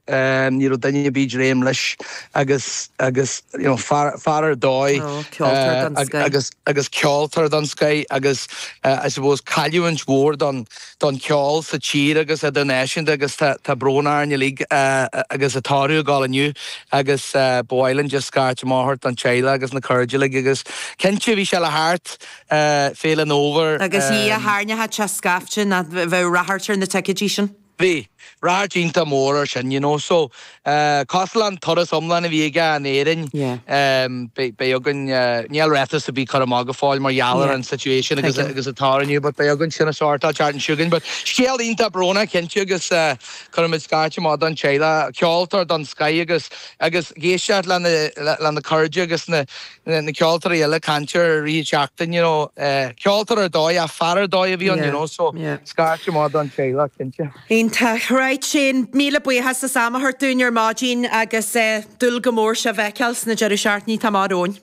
thart, ní raibh duine ar bith ag dréim leis agus agus you know fear fear ar dóigh Oh, ceoltóir den scoith. agus agus ceoltóir den scoith agus I suppose cailliúint mhór don don cheol sa tír agus idirnáisiúnta agus tá tá brón orainn uilig agus an tórramh ag gabháil inniu agus ba mhaith linn just scairt amach a thabhairt don teaghlach agus na cairde uilig agus cinnte bhí sé le theacht Féile an Fhómhair. Agus a Dhia, thairneochadh sé scaifte nó bheadh ráchairt ar na ticéidí sin. Bhí. Ráchairt iontach mór ar sin, you know. So, cosúil le an turas iomlán a bhí aige in Éirinn, beidh againn, níl ráiteas ar bith curtha amach go fóill mar gheall ar an situation agus agus an tórramh inniu, but beidh againn sin a shórtáil an tseachtain seo chugainn. But scéal iontach brónach cinnte agus cuirimid scairt amach don teaghlach, ceoltóir den scoith agus agus ag éisteacht le na le na cairde agus na na ceoltóirí eile ag caint air i rith an tseachtain, you know, ceoltóir ar dóigh, ach fear ar dóigh a bhí ann, you know, so scairt amach don teaghlach, cinnte. Iontach. Right, Shane, míle buíochas as am a thabhairt dúinn ar maidin agus dúil go mór sibh a fheiceáil sna deireadh seachtainí atá amach romhainn.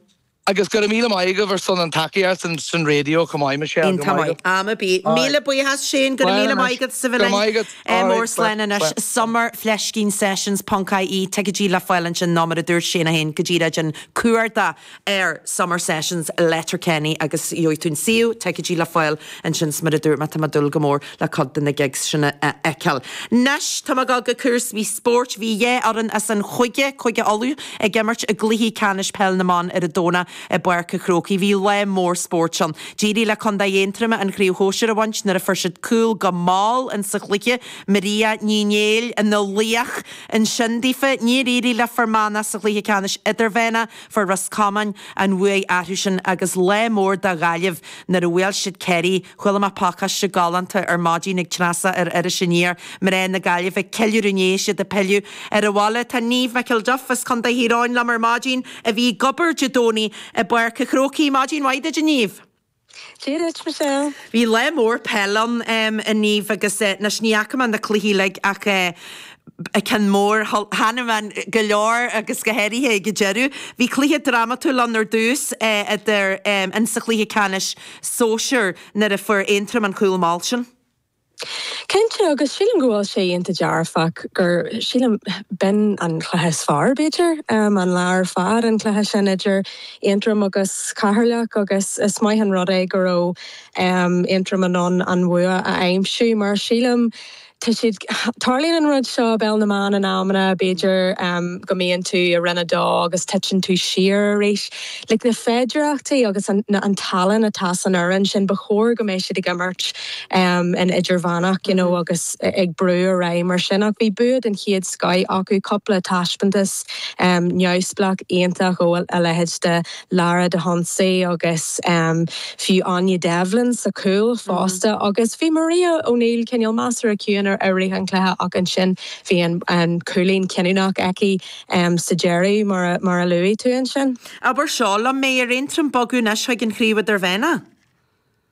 Agus go raibh míle maith agaibh ar son an tacaíocht san raidió chomh maith, Michelle. Iontach maith. Am ar bith. Míle buíochas, Shane, go raibh míle maith agat as a bheith linn. Mór slán anois. Summer Fleiscín Sessions ponc ie Ticéidí le fáil ansin nó mar a dúirt Shane é féin go díreach déan cuardach ar Summer Sessions Letterkenny agus gheobhaidh tú an suíomh, ticéidí le fáil ansin 's mar a dúirt mé tá mé ag dúil go mór le cuid de na gigs sin a fheiceáil. Anois tá mé ag dul go cúrsaí spóirt. Bhí dhá fhoireann as an chúige, Cúige Uladh, ag imirt i gcluichí ceannais peil na mban ar an Domhnach i bPáirc an Chrócaigh. Bhí lá mór spóirt ann. D'éirigh le Contae Aontroma an Chraobh Shóisir a bhaint nuair a fuair siad cúl go mall in sa chluiche. Maria Ní Néill ina laoch ansin daofa. Níor éirigh le Fear Manach sa chluiche ceannais idirmheánach. Fuair Ros Comáin an bhuaidh orthu sin agus lá mór do Ghaillimh nuair a bhuail siad Ciarraí. Chuala mé pacáiste galánta ar maidin ag Treasa ar Iris Aniar, mná na Gaillimhe ag ceiliúradh inné is iad ag pilleadh ar an bhaile. Tá Niamh McElduff as Contae Thír Eoghain liom ar maidin a bhí ag obair Dé Domhnaigh i bPáirc an Chrócaigh. Maidin mhaith duit a Niamh. Dia duit, Michelle. Bhí lá mór peile ann a Niamh agus anois ní fhaca mé na cluichí uilig ach ceann mór, thaitnigh mé go leor agus go háirithe ag an deireadh. Bhí cluiche drámatúil ann ar dtús idir in sa chluiche ceannais sóisir nuair a fuair Aontroim an cúl mall sin. Cinnte, agus sílim go bhfuil sé iontach dearfach gur, sílim, b'in an cluiche is fearr, b'fhéidir, an lá ar fad, an cluiche sin idir Aontroim agus Ceatharlach agus is maith an rud é go raibh Aontroim in ann an bhua a aimsiú mar sílim, Tá siad, tarlaíonn an rud seo i bpeil na mban in amanna, b'fhéidir go mbíonn tú i Roinn 2 agus titeann tú siar arís. Like na féidireachtaí agus an an tallann atá san fhoireann sin, ba chóir go mbeadh siad ag imirt in idirmheánach you know agus ag brú ar aghaidh mar sin. Ach bhí bua den chéad scoith acu, cúpla taispeántas neamhspleách iontach ó a leithéid de Lara de hOnsaigh agus fiú Áine Devlin sa chúl fosta agus bhí Maria O'Neill cineál measartha ciúin i rith an chluiche ach ansin bhí an cúilín cinniúnach aici sa deireadh mar a luaigh tú ansin. Abair seo liom, an mbeidh ar Aontroim bogadh anois chuig an Chraobh Idirmheánach.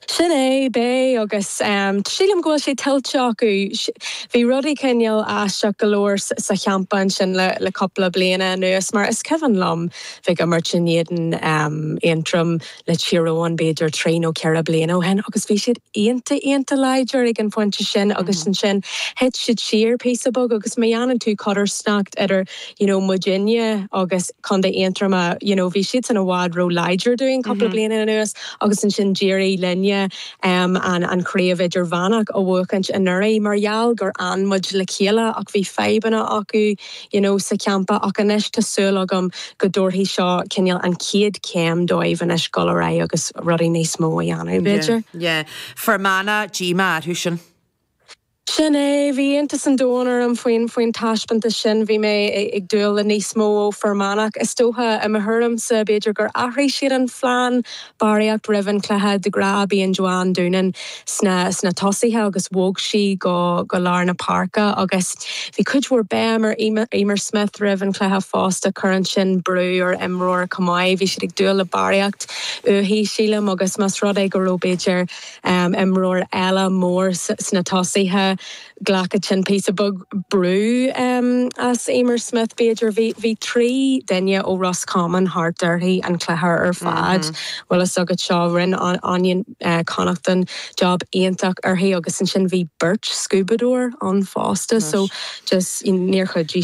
Sin é, beidh, agus sílim go bhfuil sé tuillte acu. Bhí rudaí cineál aisteach go leor sa champa ansin le cúpla bliana anuas, mar is cuimhin liom bheith ag imirt in éadan Aontroim le Tír Eoghain b'fhéidir trí nó ceithre bliana ó shin agus bhí siad iontach, iontach láidir ag an phointe sin agus ansin thit siad siar píosa beag agus má dhéanann tú codarsnacht idir you know muidinne agus Contae Aontroma, you know bhí siadsan i bhfad ró-láidir dúinn cúpla bliain anuas. Agus ansin d'éirigh linne an chraobh idirmheánach a bhuachaint anuraidh mar gheall gur fhan muid le chéile ach bhí fadhbanna acu you know sa champa ach anois tá súil agam go dtabharfaidh seo cineál an chéad chéim dóibh anois dul ar aghaidh agus rudaí níos mó a dhéanamh b'fhéidir. Yeah. Fear Manach, díomá orthu sin. Sin é, bhí iontas an domhain orm faoin faoin taispeántas sin. Bhí mé ag dúil le níos mó ó Fear Manach. Is dócha, i mo thuairimse, b'fhéidir gur athraigh siad an phlean barraíocht roimh an chluiche. De ghnáth bíonn Joanne Doonan sna sna tosaithe agus bhog sí go go lár na páirce agus bhí cuid mhór béim ar Eimear Smith roimh an chluiche fosta. Cuireann sin brú ar imreoir chomh maith. Bhí siad ag dúil le barraíocht uaithi, sílim, agus más rud é go raibh b'fhéidir imreoir eile mór sna tosaithe. Ghlacfadh sin píosa beag brú as Eimear Smith, b'fhéidir. Bhí 3 duine ó Ros Comáin thart uirthi an cluiche ar fad. Bhfuil fhios agat seo, rinne Áine Connaughton job iontach uirthi agus ansin bhí beirt scuabadóir ann fosta so just níor chuidigh.